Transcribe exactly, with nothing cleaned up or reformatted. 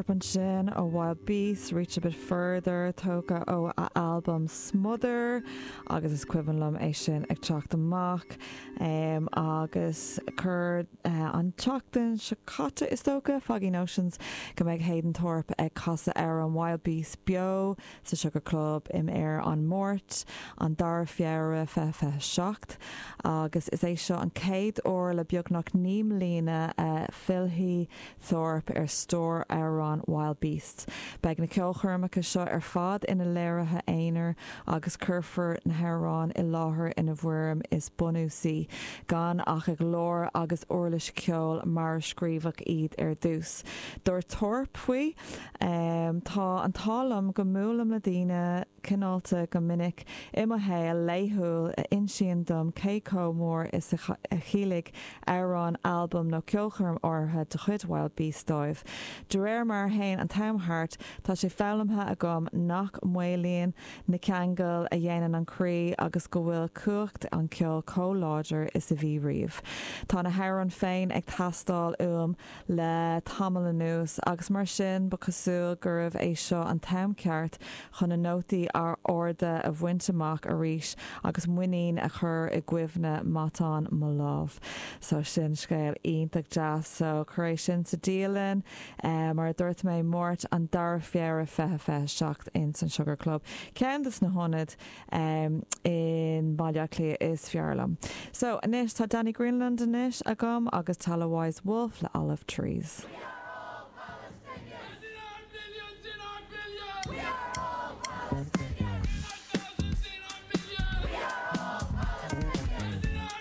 Thorpe ansin ó Wild Beasts, Reach a Bit Further tógtha ó a album Smother agus is cuimhin liom é sin ag teacht amach um, agus chur uh, an tseachtain seo caite is dócha Foggy Notions go mbeidh Hayden Thorpe ag casadh ar an Wild Beasts beo sa Sugar Club im ar an Máirt an dara Feabhra fiche fiche seacht agus is é seo an chéad uair le beagnach naoi mbliana uh, fillfidh Thorpe ar stór amhrán Wild Beasts. Beidh na ceolchoirmeacha seo ar fad ina léirithe aonair agus cuirfear na hamhráin i láthair ina bhfoirm is bunúsaí, gan ach a nglór agus uirlis ceoil mar a scríobhadh iad ar dtús. Dúirt Thorpe faoi um, tá an t-ádh liom go mbuailim le daoine cineálta go minic i mo shaol laethúil a insíonn dom cé chomh mór is a chiallaigh amhrán albam nó ceolchoirm áirithe de chuid Wild Beasts dóibh. De réir mar a théann an t-am thart tá sé foghlamtha agam nach maolaíonn na ceangail a dhéanann an croí agus go bhfuil cumhacht an cheoil chomh láidir is a bhí riamh. Tá na hamhráin féin ag teastáil uaim le tamall anuas agus mar sin ba chosúil gurbh é seo an t-am ceart chun na nótaí arda a bhaint amach arís agus muinín a chur i gcuimhne matán mo lámh. So sin scéal iontach deas so cuir é sin sa dialann uh, mar a dúirt mé Máirt an dara Feabhra fiche fiche seacht in san Sugar Club. Ceann des na hionaid um, in Baile Átha Cliath is fearr liom. So anois tá Danny Greenland anois agam agus Tala Wise Wolf le Olive Trees.